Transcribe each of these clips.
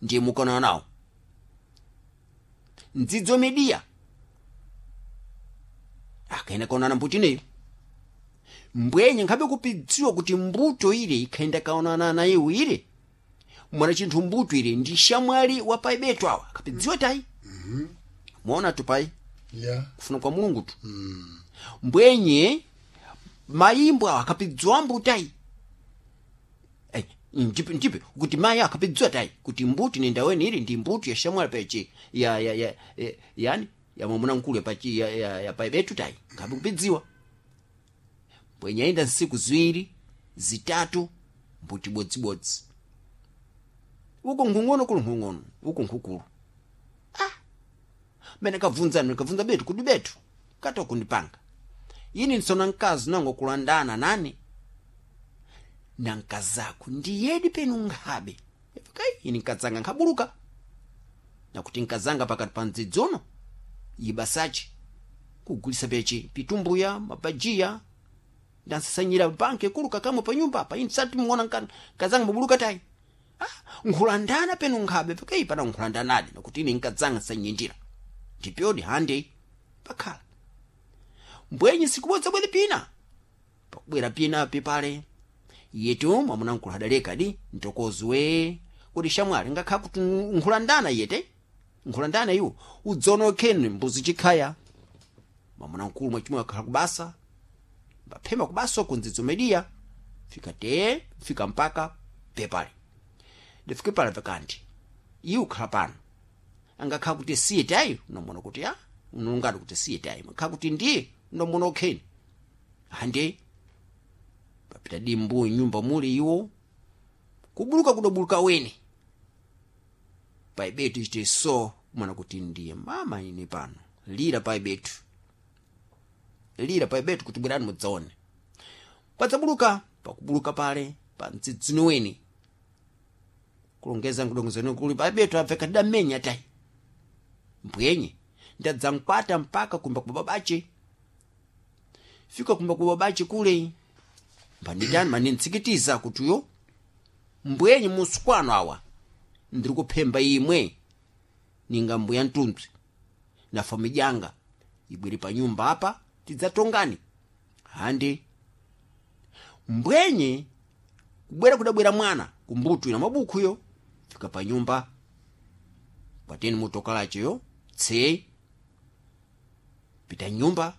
Ndiye mukaonana nawo ndzidzo mediya akaenda kaonana mbuti ineyo. Mbwenye nkhabe kupidziwa kuti mbuto ile ikhaenda kaonana nayo ile mwana chinthu mbuto ile ndi shamwali wa paibetu awa akapidziwa tayi. Muona tu pai kufuna kwa Mulungu tu. Mbwenye mayimbo awa akapidziwa mbutayi. Eh, njipe njipe kuti mayi akapidziwa tayi kuti mbuti nendaweni ili ndi mbuti ya shamwali pachi ya yani ya mwamuna mkulu ya pachi ya paibetu tayi ngabe kupidziwa. Mbwenye ayenda nsiku ziwiri zitatu mbuti bodzibodzi uko nkhung'ono kuli nkhung'ono uko nkhukulu. Mene kavunzani kavunza betu kuti betu kata kundipanga ini nsona mkazi nango kulandana nani na nkazako ndiyedi penu nkhabe. Kai ini nkazanga nkhabuluka nakuti nkazanga pakati pa mdzidzono ibasachi kugulisa pechi pitumbuya mabajiya ndansasanyira banki kuluka kamwe pa nyumba apa ini sati muona nkazanga mabuluka tayi. Ah, nkhulandana penu nkhabe pakai pana nkhulandanadi nakuti ini nkazanga sanyindira ndipyodi hande pakhala. Mbwenye sikubodza bwere pina pakubwera pina pipale yetu mwamuna nkulu adaleka di mtokozwe kuti shamwali ngakhala kuti nkhulandana yete nkhulandana iwo udzonokheni mbuzi chikhaya. Mwamuna nkulu mwachimwe akhala kubasa mbaphema kubasa kundzidzo mediya fika te fika mpaka pepale ndifike pale pakanti iwe ukhala pano angakhala kuti siye tayi unomona kuti a unongati kuti siye tayi makhala kuti ndiye unomona okheni hande papita dimbu nyumba muli iwo kubuluka kudobuluka weni paibetu ichite so mwana kuti ndiye mama ine pano lira paibetu lira paibetu kuti bwerani mudzaone padzabuluka pakubuluka pale pa mdzidzino weni kulongeza nkudongozani kuli paibetu abveka tidamenya tayi mbwenye ndadzankwata mpaka kumba kwa babache fika kumba kwa babache kule mbanditani manintsikitiza kutiyo mbwenye musikwano awa ndiri kuphemba imwe ninga mbuya mtunzi na famijanga ibwere pa nyumba apa tidzatongani handi. Mbwenye kubwera kudabwera mwana kumbutu ina mabukhuyo fika pa nyumba pateni motokalacheyo tse pita nyumba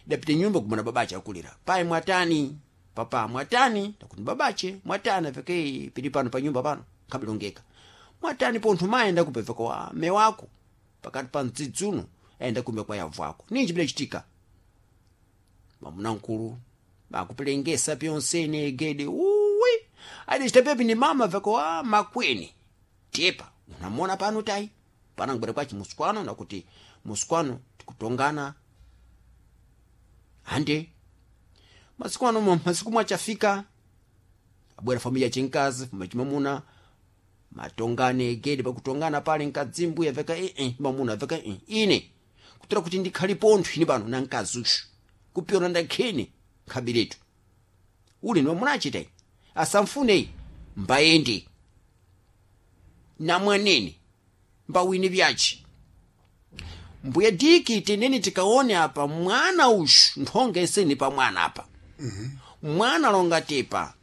idapita nyumba kumana babache akulira pai mwatani papa mwatani takuti babache mwatani apeke pili pano pa nyumba pano khabilongeka mwatani pontho mayenda kupeveka wa mme wako pakati pa mdzidzuno ayenda kumbe kwa yavu ako ninji bidachitika. Mwamuna mkulu akupelengesa pyonsene egede uwi adachita pepi ni mama veko wa makweni tepa unamona pano tayi pana ngubwera kwachi musikwano nakuti musikwano tikutongana hande masiku ano masiku mwachafika abwera familia chinkazi familia chimamuna matongane egede pakutongana pale nkadzimbu yaveka ee mamuna aveka ee ine kutera kuti ndikhali pontho ine pano na mkazi ushu kupyona ndakheni nkhabiretu uli ni mamuna achitayi asamfuneyi mbayende namwanene mbawini vyachi mbuya diki teneni tikaone apa mwana ushu nthonga iseni pa mwana apa. Mwana longa tepa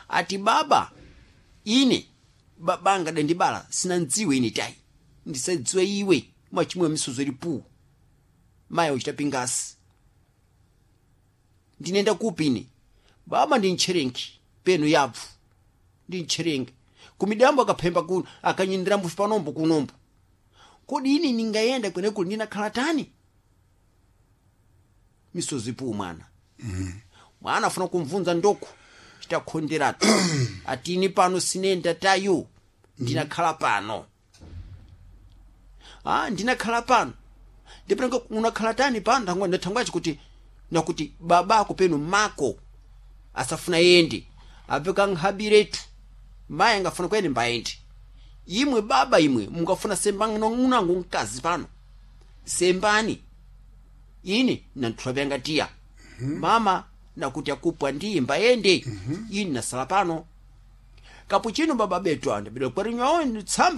ati baba ine babanga dandibala sinandziwe ine tayi ndisadziwe iwe mwachimwe misozo ilipu mayi uchita pingasi ndinenda kupi ine baba ndi ntcherenki penu yabvu ndi ntcherenki kumidambo akaphemba kuno akanyindira mbufu panombo kunombo kodi ine ningayenda kwenekuli ndinakhala tani misozi ipu mwana. Mwana afuna kumvunza ndoku chitakhonderatu atini pano sinenda tayo ndinakhala pano. Ah, ndinakhala pano ndipenga unakhala tani pano ndangwa ndathangwachi kuti nakuti babako penu mako asafuna yende apeka nkhabiretu mayi angafuna kuyende mbayende imwe baba imwe mungafuna sembani mkazi pano sembani ine nanthula vyanga tiya. Mama nakuti akupwa ndiye mbayende. Ine nasala pano kapuchino baba betu ande bidwa kwarinywawo tsamba.